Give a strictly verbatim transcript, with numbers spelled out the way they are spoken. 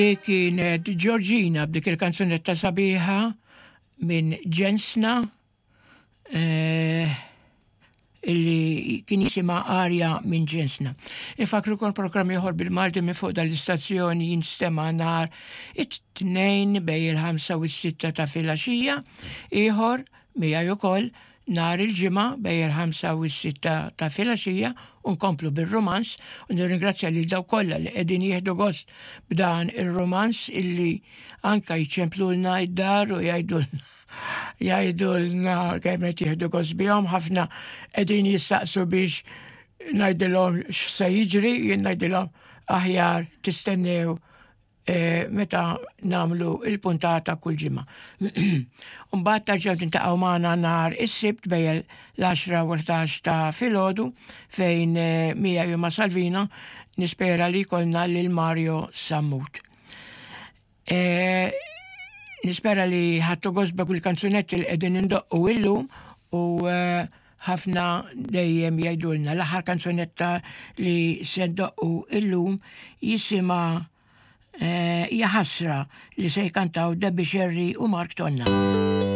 Kienet Georgina b'dik il-kanzunetta sabiħa minn Ġensna eh, illi kien jisimha Arja minn Ġensna. Infakkrukom programm ieħor bil-Malti minn fuq dal-istazzjoni jinstema' nhar it-tnejn bejn il-ħamsa u s-sitta ta' filgħaxija, ieħor miegħi ukoll nhar il-ġimgħa bejn il-ħamsa u s-sitta ta' filgħaxija u nkomplu bir-romanz u nirringrazzja lil dawk kollha li qegħdin jieħdu gost b'dan ir-romanz illi anka jċemplulna id-dar u jgħidulna jgħidulna kemm qed jieħdu gost bihom ħafna qegħdin jistaqsu biex ngħidilhom x'se jiġri, jien ngħidilhom aħjar tistennew eh, meta nagħmlu il-puntata kull ġimgħa. Mbagħad terġgħu tiltaqgħu magħna nhar is-Sibt bejn l-għaxra u l-ħdax ta' filgħodu fejn eh, miegħi ma' Salvina nispera li jkollna lil Mario Sammut. E, nispera li ħadtu gost kull kanzunetti li qegħdin indoqqu illum u ħafna dejjem jgħidulna l-aħħar kanzunetta li se ndoqqu illum jisimha Jaħasra li se jkantaw Debbie Sherry u Mark Tonna.